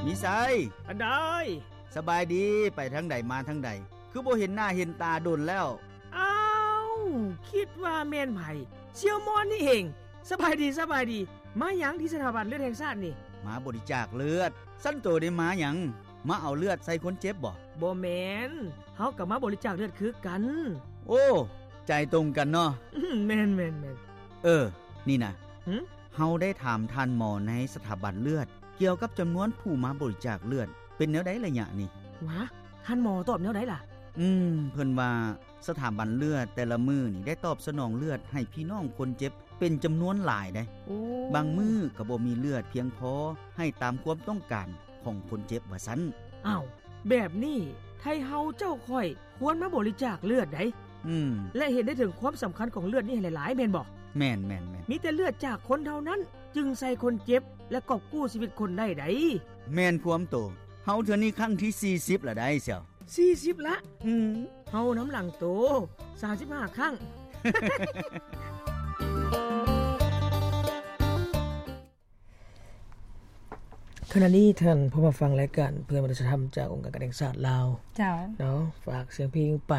ມີໄຊ ອັນໃດ? ສະບາຍດີ ໄປທາງໃດມາທາງໃດ ຄືບໍ່ເຫັນໜ້າເຫັນຕາດົນແລ້ວ? ອ້າວ ຄິດວ່າແມ່ນໃຜ? ສ່ຽວມອນນີ້ເອງ. ສະບາຍດີ ສະບາຍດີ. ມາຫຍັງທີ່ສະຖາບັນເລືອດແຫ່ງຊາດນີ້? ມາບໍລິຈາກເລືອດ. ຊັ້ນໂຕໄດ້ມາຫຍັງ? ມາເອົາເລືອດໃສ່ຄົນເຈັບບໍ? ບໍ່ແມ່ນ, ເຮົາກໍມາບໍລິຈາກເລືອດຄືກັນ. ໂອ້ ໃຈຕົງກັນເນາະ. ແມ່ນໆໆ. ເອີ ນີ້ນະ ຫຶ? ເຮົາໄດ້ຖາມທ່ານໝໍໃນສະຖາບັນເລືອດ ກ່ຽວກັບຈຳນວນຜູ້ມາບໍລິຈາກເລືອດ ເປັນແນວໃດໄລຍະນີ້? ຫວາ ທ່ານໝໍຕອບແນວໃດລະ? ອືມ ເພິ່ນວ່າສະຖາບັນເລືອດແຕ່ລະມື້ນີ້ ໄດ້ຕອບສະໜອງເລືອດໃຫ້ພີ່ນ້ອງຄົນເຈັບເປັນຈຳນວນຫຼາຍໃດ໋. ໂອ້ ບາງມື້ກໍບໍ່ມີເລືອດພຽງພໍໃຫ້ຕາມຄວາມຕ້ອງການຂອງຄົນເຈັບວ່າຊັ້ນ. ອ້າວ ແບບນີ້ ໄທເຮົາເຈົ້າຂ້ອຍຄວນມາບໍລິຈາກເລືອດໃດ໋. ອືມ ແລະ ເຫັນໄດ້ເຖິງຄວາມສຳຄັນຂອງເລືອດນີ້ໃຫ້ຫຼາຍໆ ແມ່ນບໍ່? ແມ່ນໆໆ. ມີແຕ່ເລືອດຈາກຄົນເທົ່ານັ້ນ ຈຶ່ງໃສ່ຄົນເຈັບ ແລະ ກອບກູ້ຊີວິດຄົນໄດ້ໃດ໋. ແມ່ນຄວາມໂຕ. ເຮົາເທື່ອນີ້ຄັ້ງທີສີ່ສິບລະໄດ໋ ສ່ຽວ. ສີ່ສິບລະ? ອືມ ເຮົານຳຫຼັງໂຕສາມສິບຫ້າຄັ້ງ. ຂະນະນີ້ທ່ານຜູ້ມາຟັງລາຍການເພື່ອມະນຸດສະທຳຈາກອົງການການແຫ່ງຊາດລາວ. ເຈົ້າ. ເນາະ ຝາກສຽງເພງໄປ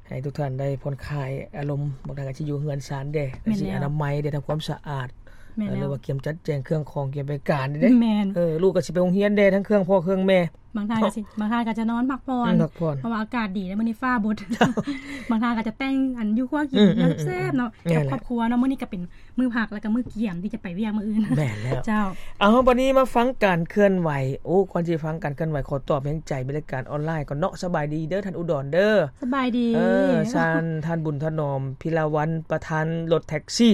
ໃຫ້ທຸກທ່ານໄດ້ຜ່ອນຄາຍອາລົມ. ບາງທ່ານກໍຊິຢູ່ເຮືອນຊານເດ້ ແມ່ນແລ້ວ ຊິອະນາໄມເດ້ ທຳຄວາມສະອາດ. ແມ່ນແລ້ວ. ເອີ ຫຼືວ່າກຽມຈັດແຈງເຄື່ອງຂອງ ກຽມໄປການເດ້. ແມ່ນ. ເອີ ລູກກໍຊິໄປໂຮງຮຽນເດ້ ທັງເຄື່ອງພໍ່ເຄື່ອງແມ່. ບາງທ່ານກໍຊິ ບາງທ່ານກໍຈະນອນພັກຜ່ອນ ອືມ ພັກຜ່ອນ ເພາະວ່າອາກາດດີ ແລ້ວມື້ນີ້ຟ້າບົດ. ເຈົ້າ. ບາງທ່ານກໍຈະແຕ່ງອັນຢູ່ຄົວກິນ ອືມໆໆ ແຊບໆເນາະ ແມ່ນແຫຼະ ກັບຄອບຄົວເນາະ. ມື້ນີ້ກໍເປັນມື້ພັກ ແລ້ວກໍມື້ກຽມທີ່ຈະໄປວຽກມື້ອື່ນ. ແມ່ນແລ້ວ. ເຈົ້າ. ເອົາ ບັດນີ້ມາຟັງການເຄື່ອນໄຫວ. ໂອ້ ກ່ອນຊິຟັງການເຄື່ອນໄຫວ ຂໍຕອບແຮງໃຈເປັນລາຍການອອນລາຍກ່ອນເນາະ. ສະບາຍດີເດີທ່ານອຸດອນເດີ. ສະບາຍດີ. ເອີ ທ່ານ ທ່ານບຸນຖະໜອມ ພິລາວັນ ປະທານລົດແທັກຊີ.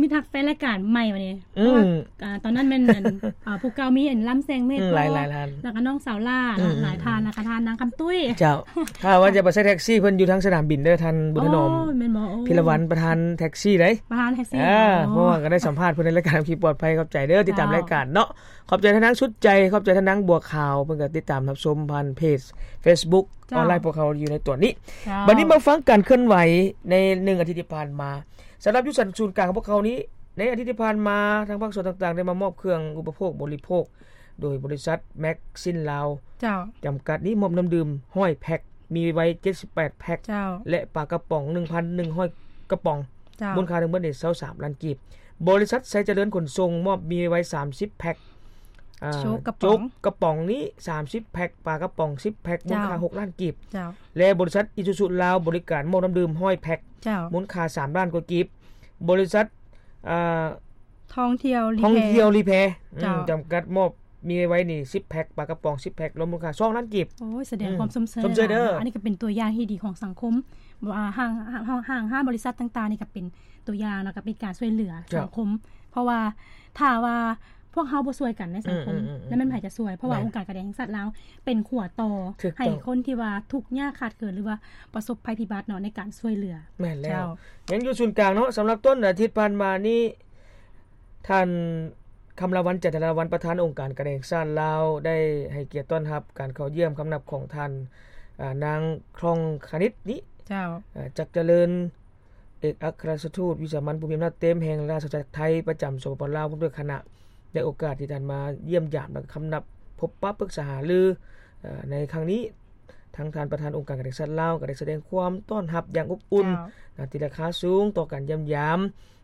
ມີທັກແຟນລາຍການໃໝ່ວະນີ້. ອືມ ເພາະວ່າ ອ່າ ຕອນນັ້ນແມ່ນອັນ ອ່າ ຜູ້ເກົ່າມີອັນລຳແສງເມດ ອືມ ຫຼາຍໆທ່ານ ແລ້ວກໍນ້ອງສາວຫຼ້າເນາະ ອືມ ຫຼາຍທ່ານ ແລ້ວກໍທ່ານນາງຄຳຕຸ້ຍ. ເຈົ້າ. ຖ້າວ່າຈະໄປໃຊ້ແທັກຊີ ເພິ່ນຢູ່ທາງສະໜາມບິນເດີ ທ່ານບຸນຖະໜອມ. ອໍ ແມ່ນບໍ່? ໂອ້ ພິລະວັນ ປະທານແທັກຊີເດ້. ປະທານແທັກຊີ. ອ່າ ອໍ ເພາະວ່າກໍໄດ້ສຳພາດເພິ່ນໃນລາຍການຂັບຂີ່ປອດໄພ. ຂອບໃຈເດີ ຕິດຕາມ ເຈົ້າ ລາຍການເນາະ. ຂອບໃຈທ່ານນາງສຸດໃຈ ຂອບໃຈທ່ານນາງບົວຂາວ ເພິ່ນກໍຕິດຕາມຮັບຊົມຜ່ານເພຈເຟສບຸກ ເຈົ້າ ອອນລາຍພວກເຮົາຢູ່ໃນຕອນນີ້. ເຈົ້າ. ບັດນີ້ມາຟັງການເຄື່ອນໄຫວໃນໜຶ່ງອາທິດທີ່ຜ່ານມາ. ສຳລັບຢູ່ຊັ້ນສູນກາງຂອງພວກເຮົານີ້ ໃນອາທິດທີ່ຜ່ານມາ ທາງພາກສ່ວນຕ່າງໆ ໄດ້ມາມອບເຄື່ອງອຸປະໂພກບໍລິໂພກ ໂດຍບໍລິສັດແມັກຊິນລາວ ເຈົ້າ ຈຳກັດນີ້ ມອບນ້ຳດື່ມຮ້ອຍແພັກ ມີໄວເຈັດສິບແປດແພັກ ເຈົ້າ ແລະ ປາກະປ໋ອງໜຶ່ງພັນໜຶ່ງຮ້ອຍກະປ໋ອງ ເຈົ້າ ມູນຄ່າທັງໝົດນີ້ຊາວສາມລ້ານກີບ. ບໍລິສັດໄຊຈະເລີນຂົນສົ່ງ ມອບມີໄວສາມສິບແພັກ ອ່າ ໂຈກກະປ໋ອງ ໂຈກກະປ໋ອງນີ້ສາມສິບແພັກ ປາກະປ໋ອງສິບແພັກ ມູນຄ່າ ເຈົ້າ ຫົກລ້ານກີບ ເຈົ້າ ແລະ ບໍລິສັດອີຊູຊູລາວ ບໍລິການມອບນ້ຳດື່ມຮ້ອຍແພັກ ເຈົ້າ ມູນຄ່າສາມລ້ານກວ່າກີບ. ບໍລິສັດ ອ່າ ທ່ອງທ່ຽວລີແພ ທ່ອງທ່ຽວລີແພ ເຈົ້າ ອືມ ຈຳກັດ ມອບມີໄວນີ້ສິບແພັກ ປາກະປ໋ອງສິບແພັກ ລວມມູນຄ່າສອງລ້ານກີບ. ໂອ້ຍ ສະແດງ ອືມ ຄວາມຊົມເຊີຍ ຊົມເຊີຍເດີ ອັນນີ້ກໍເປັນຕົວຢ່າງທີ່ດີຂອງສັງຄົມ ວ່າຫ້າງ ຫ້າງ ຫ້າງ ຫ້າງບໍລິສັດຕ່າງໆນີ້ກໍເປັນຕົວຢ່າງ ແລ້ວກໍເປັນການຊ່ວຍເຫຼືອ ເຈົ້າ ສັງຄົມ ເພາະວ່າຖ້າວ່າ ພວກເຮົາບໍ່ຊ່ວຍກັນໃນສັງຄົມ ອືມໆໆໆ ແລ້ວແມ່ນໃຜຈະຊ່ວຍ? ເພາະວ່າ ແມ່ນ ອົງການການແຫ່ງຊາດລາວເປັນຂົວຕໍ່ ຖືກຕ້ອງ ໃຫ້ຄົນທີ່ວ່າທຸກຍາກຂາດເຂີນ ຫຼືວ່າປະສົບໄພພິບັດເນາະ ໃນການຊ່ວຍເຫຼືອ. ແມ່ນແລ້ວ ເຈົ້າ ຍັງຢູ່ສູນກາງເນາະ. ສຳລັບຕົ້ນອາທິດຜ່ານມານີ້ ທ່ານ ຄຳລາວັນ ຈັນທະລາວັນ ປະທານອົງການການແຫ່ງຊາດລາວ ໄດ້ໃຫ້ກຽດຕ້ອນຮັບການເຂົ້າຢ້ຽມຄຳນັບຂອງທ່ານ ອາ ນາງ ຄ່ອງຄະນິດ ນີ້ ເຈົ້າ ອາ ຈັກຈະເລີນ ເອກອັກຄະລັດຖະທູດວິສາມັນຜູ້ມີອຳນາດເຕັມແຫ່ງລາຊະອານາຈັກໄທປະຈຳ ສປປ ລາວ ພ້ອມດ້ວຍຄະນະ ໃນໂອກາດທີ່ທ່ານມາຢ້ຽມຢາມ ແລະ ຄຳນັບພົບປະປຶກສາຫາລື ເອີ ໃນຄັ້ງນີ້ ທັງທ່ານປະທານອົງການການແຫ່ງຊາດລາວ ກໍໄດ້ສະແດງຄວາມຕ້ອນຮັບຢ່າງອົບອຸ່ນ ເຈົ້າ ນາຕີລາຄາສູງຕໍ່ການຢ້ຽມຢາມ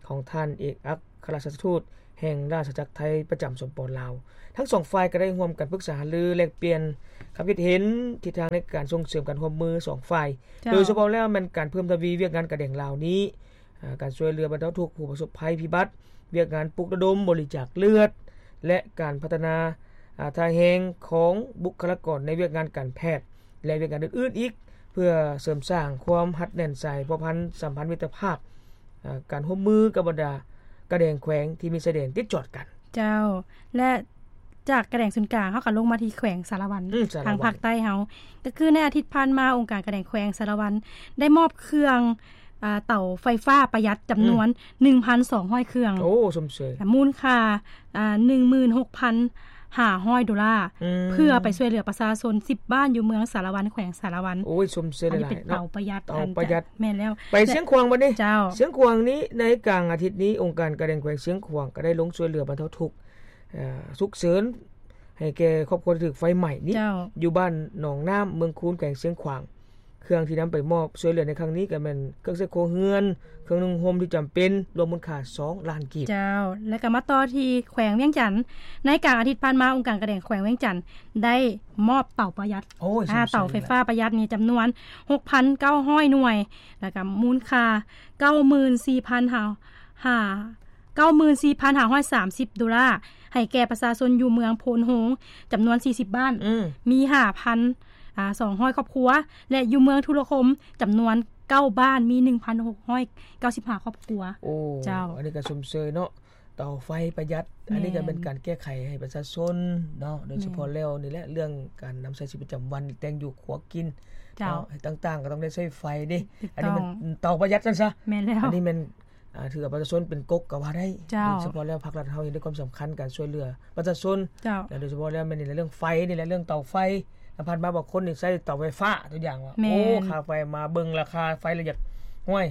ຂອງທ່ານເອກອັກຄະລັດຖະທູດແຫ່ງລາຊະອານາຈັກໄທປະຈຳ ສປປ ລາວ. ທັງສອງຝ່າຍກໍໄດ້ຮ່ວມກັນປຶກສາຫາລືແລກປ່ຽນຄຳຄິດເຫັນທິດທາງໃນການສົ່ງເສີມການຮ່ວມມືສອງຝ່າຍ ເຈົ້າ ໂດຍສະເພາະແລ້ວແມ່ນການເພີ່ມທະວີວຽກງານການແດງລາວນີ້ ອາ ການຊ່ວຍເຫຼືອບັນເທົາທຸກຜູ້ປະສົບໄພພິບັດ, ວຽກງານປຸກລະດົມບໍລິຈາກເລືອດ ແລະ ການພັດທະນາ ອາ ທ່າແຮງຂອງບຸກຄະລາກອນໃນວຽກງານການແພດ ແລະ ວຽກງານອື່ນໆອີກ ເພື່ອເສີມສ້າງຄວາມຮັດແໜ້ນໃຈພົວພັນສຳພັນມິດຕະພາບ ອາ ການຮ່ວມມືກັບບັນດາການແດງແຂວງທີ່ມີຊາຍແດນຕິດຈອດກັນ. ເຈົ້າ ແລະ ຈາກການແດງສູນກາງ ເຮົາກໍລົງມາທີ່ແຂວງສາລະວັນ ອືມ ສາລະວັນ ທາງພາກໃຕ້ເຮົາ ກໍຄືໃນອາທິດຜ່ານມາ ອົງການການແດງແຂວງສາລະວັນໄດ້ມອບເຄື່ອງ ອາ ເຕົາໄຟຟ້າປະຢັດຈຳນວນ ອືມ ໜຶ່ງພັນສອງຮ້ອຍເຄື່ອງ. ໂອ້ ຊົມເຊີຍ. ມູນຄ່າ ອາ ໜຶ່ງໝື່ນຫົກພັນຫ້າຮ້ອຍໂດລາ ອືມ ເພື່ອໄປຊ່ວຍເຫຼືອປະຊາຊົນສິບບ້ານຢູ່ເມືອງສາລະວັນ ແຂວງສາລະວັນ. ໂອ້ຍ ຊົມເຊີຍຫຼາຍໆເນາະ. ອັນນີ້ເປັນເຕົາປະຢັດ ເຕົາປະຢັດ ແມ່ນແລ້ວ. ໄປຊຽງຂວາງບັດນີ້. ເຈົ້າ ຊຽງຂວາງນີ້ ໃນກາງອາທິດນີ້ ອົງການການແດງແຂວງຊຽງຂວາງກໍໄດ້ລົງຊ່ວຍເຫຼືອບັນເທົາທຸກ ເອີ ສຸກເສີນ ໃຫ້ແກ່ຄອບຄົວທີ່ຖືກໄຟໄໝ້ນີ້ ເຈົ້າ ຢູ່ບ້ານໜອງນ້ຳ ເມືອງຄູນ ແຂວງຊຽງຂວາງ. ເຄື່ອງທີ່ນຳໄປມອບຊ່ວຍເຫຼືອໃນຄັ້ງນີ້ກໍແມ່ນເຄື່ອງໃຊ້ຄົວເຮືອນ, ເຄື່ອງນຸ່ງຫົ່ມທີ່ຈຳເປັນ ລວມມູນຄ່າສອງລ້ານກີບ. ເຈົ້າ ແລ້ວກໍມາຕໍ່ທີ່ແຂວງວຽງຈັນ. ໃນກາງອາທິດຜ່ານມາ ອົງການການແຂວງວຽງຈັນໄດ້ມອບເຕົາປະຢັດ ໂອ້ຍ ອ່າ ຊົມເຊີຍ ເຕົາໄຟຟ້າປະຢັດນີ້ຈຳນວນຫົກພັນເກົ້າຮ້ອຍໜ່ວຍ ແລ້ວກໍມູນຄ່າເກົ້າໝື່ນສີ່ພັນຫ້າ ເກົ້າໝື່ນສີ່ພັນຫ້າຮ້ອຍສາມສິບໂດລາ ໃຫ້ແກ່ປະຊາຊົນຢູ່ເມືອງໂພນໂຮງ ຈຳນວນສີ່ສິບບ້ານ ອືມ ມີຫ້າພັນ ອ່າ ສອງຮ້ອຍຄອບຄົວ ແລະ ຢູ່ເມືອງທຸລະຄົມ ຈຳນວນເກົ້າບ້ານ ມີໜຶ່ງພັນຫົກຮ້ອຍເກົ້າສິບຫ້າຄອບຄົວ. ໂອ້ ເຈົ້າ ອັນນີ້ກໍຊົມເຊີຍເນາະ ເຕົາໄຟປະຢັດ ແມ່ນ ອັນນີ້ກໍເປັນການແກ້ໄຂໃຫ້ປະຊາຊົນເນາະ ໂດຍສະເພາະ ແມ່ນ ແລ້ວນີ້ແຫຼະ ເລື່ອງການນຳໃຊ້ຊີວິດປະຈຳວັນ ແຕ່ງຢູ່ຄົວກິນ ເຈົ້າ ເນາະ ຕ່າງໆ ກໍຕ້ອງໄດ້ໃຊ້ໄຟເດ້. ຖືກຕ້ອງ ອັນນີ້ມັນເຕົາປະຢັດຊັ້ນຊະ. ແມ່ນແລ້ວ ອັນນີ້ແມ່ນ ອ່າ ຖືວ່າປະຊາຊົນເປັນກົກກໍວ່າໄດ້. ເຈົ້າ ໂດຍສະເພາະແລ້ວ ພາກລັດເຮົາເຫັນໃນຄວາມສຳຄັນການຊ່ວຍເຫຼືອປະຊາຊົນ. ເຈົ້າ ແລະ ໂດຍສະເພາະແລ້ວແມ່ນນີ້ແຫຼະ ເລື່ອງໄຟນີ້ແຫຼະ ເລື່ອງເຕົາໄຟ. ແລ້ວຜ່ານມາບາງຄົນນີ້ໃຊ້ເຕົາໄຟຟ້າ ຕົວຢ່າງວ່າ ແມ່ນ ໂອ້ ຄ່າໄຟມາເບິ່ງລາຄາໄຟແລ້ວຢາກ ໂອ້ຍ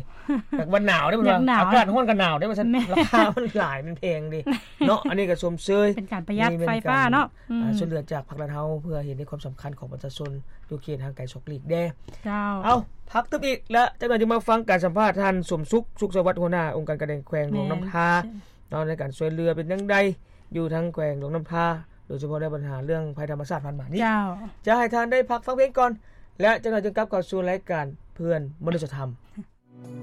ຢາກວ່າໜາວເດ້ ເພິ່ນວ່າ ຢາກໜາວ ອາກາດຮ້ອນກໍໜາວເດ້ວ່າຊັ້ນ. ແມ່ນ ລາຄາມັນຫຼາຍ ມັນແພງເດ້ເນາະ. ອັນນີ້ກໍຊົມເຊີຍ ເປັນການປະຢັດໄຟຟ້າເນາະ. ອືມ ອ່າ ຊ່ວຍເຫຼືອຈາກພາກລັດເຮົາ ເພື່ອເຫັນໃນຄວາມສຳຄັນຂອງປະຊາຊົນຢູ່ເຂດຫ່າງໄກສອກຫຼີກແດ່. ເຈົ້າ ເອົາ ພັກຕຶບອີກ ແລະ ຈາກນັ້ນຈຶ່ງມາຟັງການສຳພາດທ່ານ ສົມສຸກ ສຸກສະຫວັດ ຫົວໜ້າອົງການການແຂວງຫຼວງນ້ຳທາ ແມ່ນ ເນາະ ໃນການຊ່ວຍເຫຼືອເປັນຈັ່ງໃດຢູ່ທາງແຂວງຫຼວງນ້ຳທາ ໂດຍສະເພາະໃນບັນຫາເລື່ອງໄພທຳມະຊາດຜ່ານມານີ້. ເຈົ້າ ຈະໃຫ້ທ່ານໄດ້ພັກຟັງເພງກ່ອນ ແລະ ຈາກນັ້ນຈຶ່ງກັບເຂົ້າສູ່ລາຍການເພື່ອນມະນຸດສະທຳ.